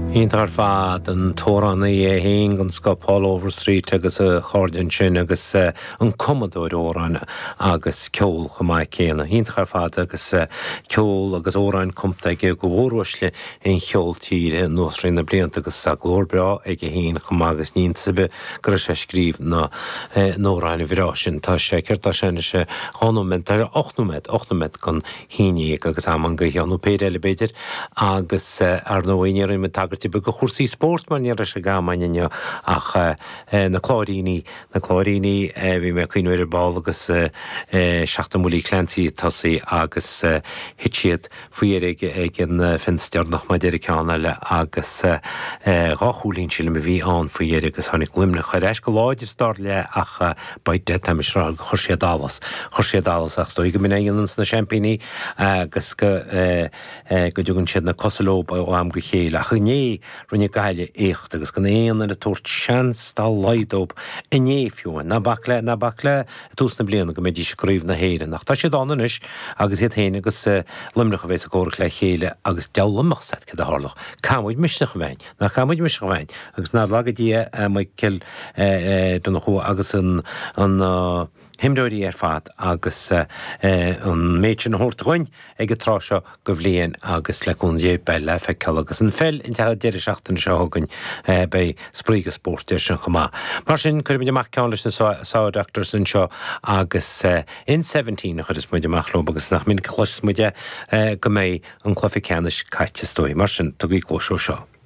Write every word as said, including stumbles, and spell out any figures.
Iontach ar fad an t-amhránaí é féin den scoth Paul Overstreet agus a chairde ansin agus an cumadóir amhrán agus ceol chomh maith céanna. Iontach ar fad agus ceol agus amhráin cumtha aige do mhóruaisle an cheoil tíre anuas thrí na blianta agus tá glór breá aige féin chomh maith agus ní hiontas ar bith go raibh sé ag scríobh na n-amhrán bhreá sin. Tá sé céard tá sé anois dhá nóiméad, tá sé ocht nóiméad, ocht nóiméad don haon déag agus am an gaoithe nó péire eile b'fhéidir agus ar ndóigh ní raibh tagairt ar bith do chúrsaí spóirt mar ní raibh sé ag am inniu ach na Cláiríní, na Cláiríní bhí mé ag cuimhneamh ar ar ball agus seachtain Willie Clancy ag tosaí agus thit siad faoi dheireadh ag an fence deireanach mar deir an ceann eile agus dhá chúilín sílim a bhí ann faoi dheireadh agus tháinig Luimneach ar ais go láidir sa dara leath ach by Dad tá mise ag rá gur chuir siad allas, chuir siad allas ach is dóigh go mb'in é a dhéananns na seaimpíní agus go go dtugann siad na cosa leo ó am go chéile ach inné rinne Gaillimh éacht agus gan aon duine ag tabhairt seans dá laghad dóibh inné fiú amháin. Ná bac le, ná bac le i dtús na bliana go mbeidís i gCraobh na hÉireann ach tá siad ann anois agus iad féin agus Luimneach a bheas ag comhrac le chéile agus deabhal a fhios agat céard a tharlódh. Caithfidh muid misneach a bheith a'inn, nach caithfidh muid misneach a bheith a'inn agus nár laga Dia Michael Donnchú agus an an himreoirí ar fad agus an méid sin a thabhairt dhuinn ag an tráth seo de bhliain agus le cúnamh Dé beidh le feiceáil agus an pheil an deireadh seachtaine seo chugainn beidh spraoi agus spórt air sin chomh maith. Mar sin cuirfimid amach ceann leis na Saw Doctors anseo agus in Seventeen a chuireas muid amach leo agus nach minic a chloiseas muid é go mbeidh an cluiche ceannais caite is dóigh. Mar sin tugaigí cluas dó seo.